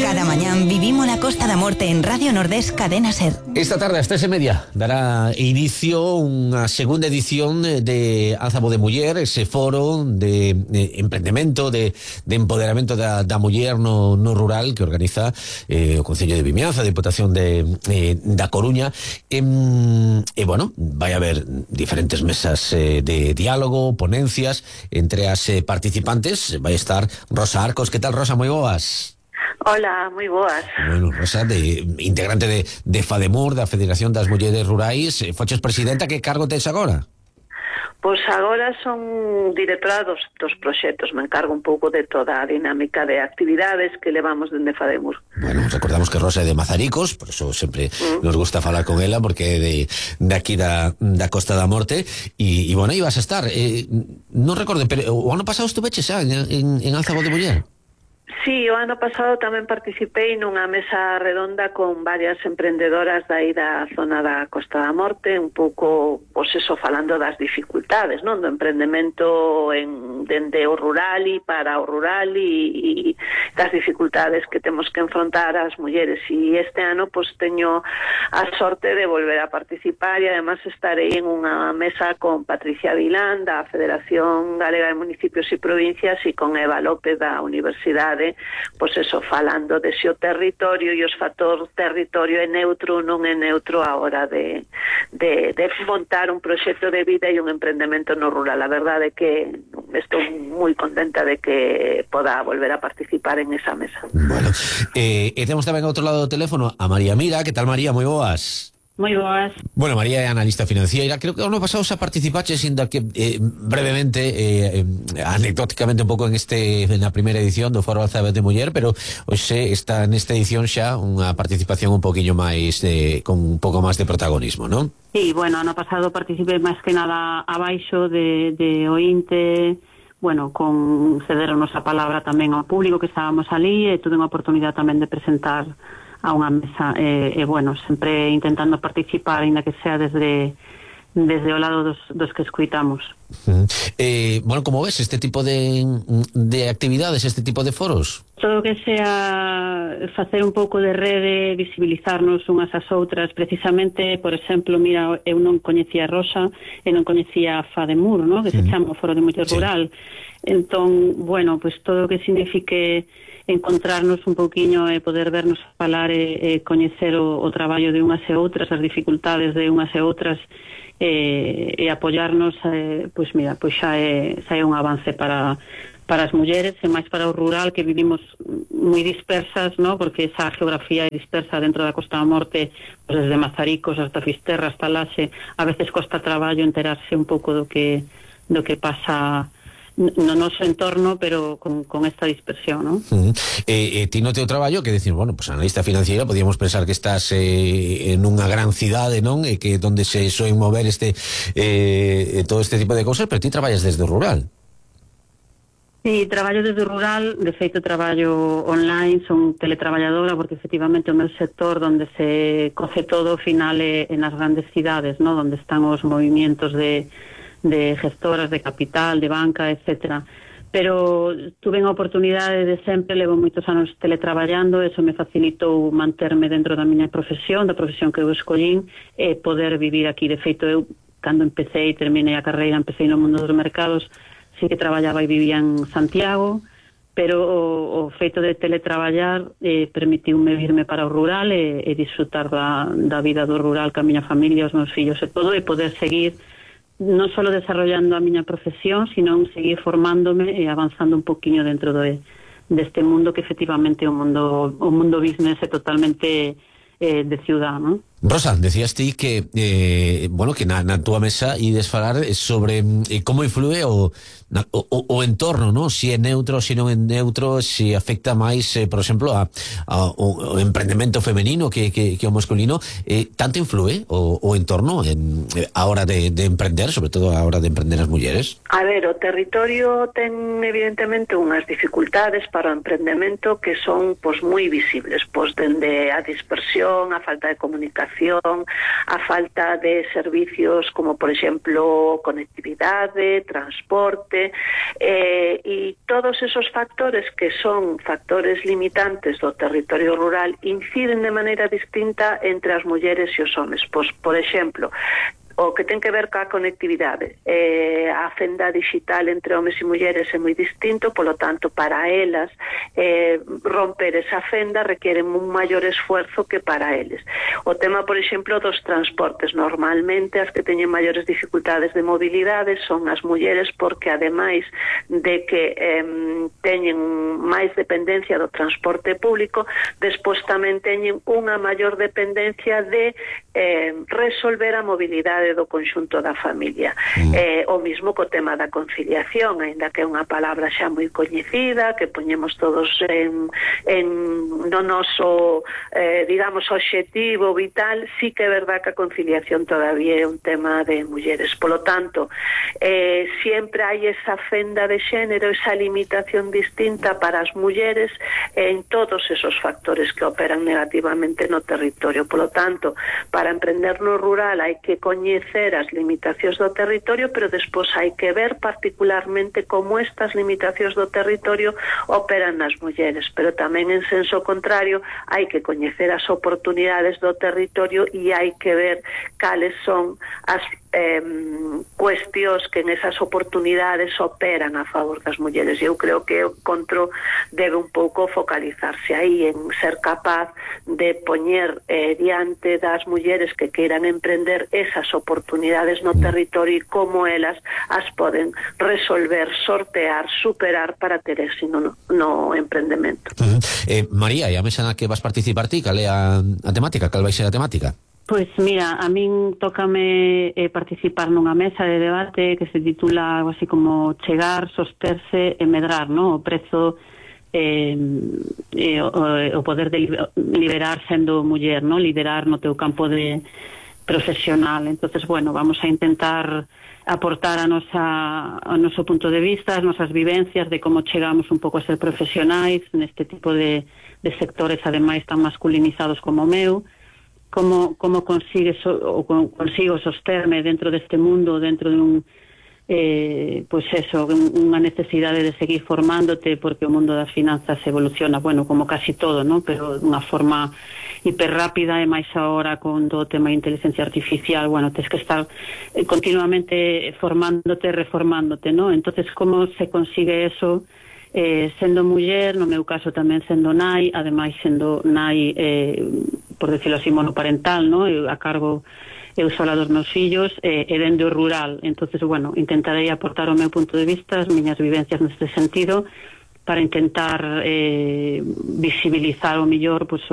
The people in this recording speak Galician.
Cada mañán vivimos la Costa da Morte en Radio Nordés Cadena Ser. Esta tarde, ás 3:30, dará inicio unha segunda edición de Álzamo de Muller, ese foro de emprendemento, de empoderamento da muller no rural que organiza o Concello de Vimianza, a Diputación da Coruña. E bueno, vai haber diferentes mesas de diálogo, ponencias. Entre as participantes vai estar Rosa Arcos. Que tal, Rosa? Moi boas. Hola, moi boas. Bueno, Rosa, integrante de FADEMUR, da Federación das Mulleres Rurais, foches presidenta, que cargo tes agora? Pois agora son directora dos proxectos, me encargo un pouco de toda a dinámica de actividades que levamos dende FADEMUR. Bueno, recordamos que Rosa é de Mazaricos, por eso sempre nos gusta falar con ela, porque é de aquí da Costa da Morte, e bueno, ibas a estar, non recordo, pero o ano pasado estuveche xa en Álzamo de Muller. Sí, o ano pasado tamén participei nunha mesa redonda con varias emprendedoras dai da zona da Costa da Morte, un pouco, pois eso, falando das dificultades, non? Do emprendemento dende o rural e para o rural e das dificultades que temos que enfrontar as mulleres. E este ano, pois, teño a sorte de volver a participar e además estarei en unha mesa con Patricia Vilán da Federación Galega de Municipios e Provincias e con Eva López da Universidade, pois eso, falando de se o territorio e os factores territorio é neutro ou non é neutro a hora de montar un proxecto de vida e un emprendemento no rural. A verdade é que estou moi contenta de que poda volver a participar en esa mesa. Bueno, e temos tamén ao outro lado do teléfono a María Mira. Que tal, María? Moi boas. Moi boas. Bueno, María é analista financiera. Creo que ano pasado xa participaches, ainda que brevemente, anecdóticamente un pouco na primeira edición do Foro Álzamo de Muller, pero hoxe está nesta edición xa unha participación un poquinho máis con un pouco máis de protagonismo, non? Sí, bueno, ano pasado participei máis que nada abaixo de ointe, bueno, con cedernos a palabra tamén ao público que estábamos ali, e tuve unha oportunidade tamén de presentar a unha mesa, bueno, sempre intentando participar, ainda que sea desde o lado dos que escuitamos. Bueno, como ves este tipo de actividades, este tipo de foros? Todo o que sea facer un pouco de rede, visibilizarnos unhas ás outras. Precisamente, por exemplo, mira, eu non coñecía a Rosa e non coñecía a FADEMUR, ¿no? Que se chama o Foro de Muller Rural. Entón, bueno, pues todo o que signifique encontrarnos un pouquiño e poder vernos falar e coñecer o traballo de unhas e outras, as dificultades de unhas e outras, e apoiarnos, pois mira, pois xa é un avance para as mulleres e máis para o rural, que vivimos moi dispersas, ¿no? Porque esa geografía é dispersa dentro da Costa da Morte, pues desde Mazaricos hasta Fisterra, hasta Laxe. A veces costa traballo enterarse un pouco do que pasa no noso entorno, pero con esta dispersión, ¿no? Ti no teu traballo, que decir, bueno, pues analista financiera, podíamos pensar que estás en unha gran cidade, non? E que donde se soen mover todo este tipo de cousas, pero ti traballas desde o rural. Sí, traballo desde o rural, de feito traballo online, son teletraballadora, porque efectivamente o meu sector donde se coce todo ao final é nas grandes cidades, ¿no? Donde están os movimientos de gestoras, de capital, de banca, etcétera. Pero tuve a oportunidade de sempre, levo moitos anos teletraballando, eso me facilitou manterme dentro da miña profesión, da profesión que eu escollín, e poder vivir aquí. De feito, eu, cando empecé e terminei a carreira, empecé no mundo dos mercados, sí que traballaba e vivía en Santiago, pero o feito de teletraballar permitiume virme para o rural e disfrutar da vida do rural ca miña familia, os meus fillos e todo, e poder seguir non só desarrollando a miña profesión, sino seguir formándome e avanzando un poquinho dentro deste mundo que efectivamente o mundo business é totalmente de ciudad, ¿no? Rosa, decías ti que bueno, que na túa mesa ides falar sobre como influe o entorno, ¿no? Si é neutro, si non é neutro, si afecta máis, por exemplo, ao emprendemento femenino que o masculino. Tanto influe o entorno a hora de emprender, sobre todo a hora de emprender as mulleres? A ver, o territorio ten evidentemente unhas dificultades para o emprendemento que son, pois, moi visibles, pois, dende a dispersión, a falta de comunicación, conciliación, a falta de servicios como, por exemplo, conectividade, transporte, e todos esos factores que son factores limitantes do territorio rural inciden de maneira distinta entre as mulleres e os homes. Pois, por exemplo, o que ten que ver ca conectividade. A fenda digital entre homes e mulleres é moi distinto, polo tanto, para elas romper esa fenda requiere un maior esfuerzo que para eles. O tema, por exemplo, dos transportes. Normalmente, as que teñen maiores dificultades de mobilidade son as mulleres, porque ademais de que teñen máis dependencia do transporte público, despois tamén teñen unha maior dependencia de resolver a mobilidade do conxunto da familia. O mismo co tema da conciliación, aínda que é unha palabra xa moi coñecida, que poñemos todos no noso, digamos, obxectivo vital, sí que é verdad que a conciliación todavía é un tema de mulleres. Polo tanto, sempre hai esa fenda de xénero, esa limitación distinta para as mulleres en todos esos factores que operan negativamente no territorio. Polo tanto, para emprender no rural hai que coñecer as limitacións do territorio, pero despois hai que ver particularmente como estas limitacións do territorio operan nas mulleres, pero tamén en senso contrario hai que coñecer as oportunidades do territorio e hai que ver cales son as cuestións que en esas oportunidades operan a favor das mulleres. Eu creo que o encontro debe un pouco focalizarse aí en ser capaz de poñer diante das mulleres que queiran emprender esas oportunidades no territorio e como elas as poden resolver, sortear, superar para ter éxito no emprendemento. María, e a mesa na que vas participar ti, cal é a temática? Cal vai ser a temática? Pois mira, a min tócame participar nunha mesa de debate que se titula algo así como chegar, sosterse e medrar, ¿no? O prezo o poder de liberar sendo muller, ¿no? Liderar no teu campo de profesional. Entonces, bueno, vamos a intentar aportar o noso punto de vista, as nosas vivencias de como chegamos un pouco a ser profesionais neste tipo de sectores, ademais tan masculinizados como o meu. Como consigo sosterme dentro deste mundo, dentro de unha necesidade de seguir formándote, porque o mundo das finanzas evoluciona, bueno, como casi todo, ¿no? Pero de unha forma hiperrápida, e máis agora con todo o tema de inteligencia artificial, bueno, tens que estar continuamente formándote, reformándote, ¿no? Entonces, como se consigue eso? Sendo muller, no meu caso tamén sendo nai, ademais sendo nai, por decirlo así, monoparental, ¿no? A cargo eu sola dos meus fillos, e dende o rural. Entonces, bueno, intentarei aportar o meu punto de vista, as miñas vivencias neste sentido, para intentar visibilizar o mellor pues,